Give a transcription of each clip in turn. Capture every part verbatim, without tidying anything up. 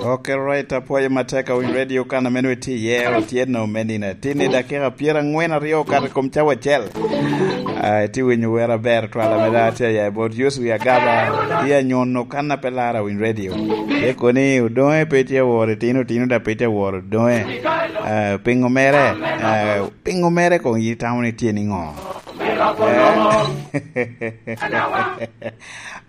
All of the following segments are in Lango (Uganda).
Ok, right, apwoyo matek awiny radio kan a meno itye iye, otyeno me nino atin i dakika pyerangwen aryo okato i kom cawa acel. Ah, itye winyo wer aber twala me dano tye aya i bot Yosua Agaba, tye anyono kan a pe lar awiny radio. Tye koni odoŋe pe tye aworo itino, itino da pe tye aworo odoŋe. Ah, pingo mere, ah, pingo mere kong itamo ni tye niŋo?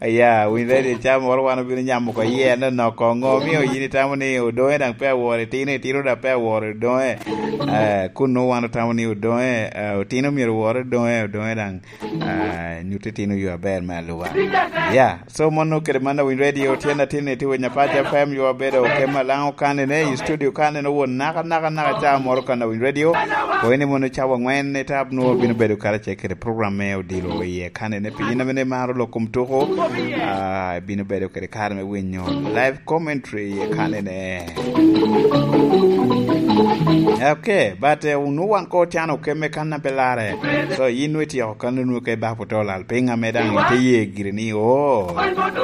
Eh? Ya, winy radio ca moro wan obino nyamo oko iye, anonoko ŋo omio yin itamo ni odoŋe daŋ pe aworo itino, itino daŋ pe aworo odoŋe. Eh, kun nwoŋo wan otamo ni odoŋe, eh, otino myero owor odoŋe, odoŋe daŋ, eh, nyutte itino yo aber me aluba. Ya, so mono kede man awiny radio, tyen atin i Tiwiny Apac F M, yo abedo kema laŋo kanene, i studio kanene won naka, naka, naka ca moro kan awiny radio. Ko ene mono cawa ŋwen i tap nwoŋo bino bedo karacel kede program me odilo iye kanene. Pi in a mene maro lok kom tuko, ah, ibino bedo kede kare me winyo live commentary i kanene. Ok, but, eh, onwoŋo wan ko ocano okemme kan a pe larre. So, yin nwoŋo ityeko kan onwoŋo ka ibako to lal piny ame daŋ ite ye gire ni, oh,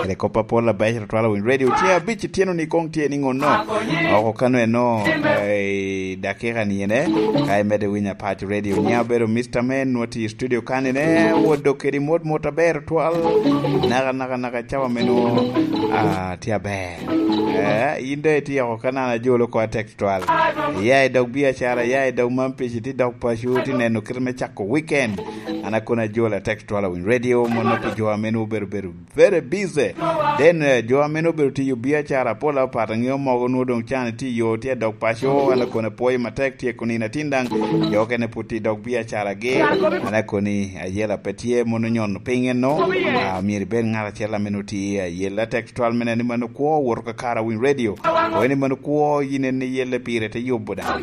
kede kop apol abeco tutwal awiny radio. Tye abic itino ni kong tye ni ŋonno. Oko kano eno, eh, i dakika ni ene, ka imedde winyo Apac Radio. Nia obedo Mister Man, nwoŋo tye i studio kanene, wot dok kedi mot mot aber twal. Naka, naka, naka cawa meno, ah, tye aber. Eh, in doŋ itye oko ka nano ajolo oko atek twal. Iya i dog biacara, iya i dog man pici, tye dog paco, tye neno kit me cako weekend. An akono ajolo atek twal awiny radio, mono pi jo a meno obedo, bedo very busy. Then, eh, jo a meno obedo tiyo biacara, pol apat, aŋeo mogo nwoŋo doŋ can tye i yo, tye dok paco, an akono apwoyo matek, tye kunino atin daŋ, jo okene pwod tye dok biacaragi, an akoni ayela pe tye, mono nyono piny eno, ah, myero ibed ŋat acel a meno tye ayela tek twal mene ni mano kwo, woto ka kara winy radio, ko ni mano kwo, yin en iyele pire te yubo daŋ.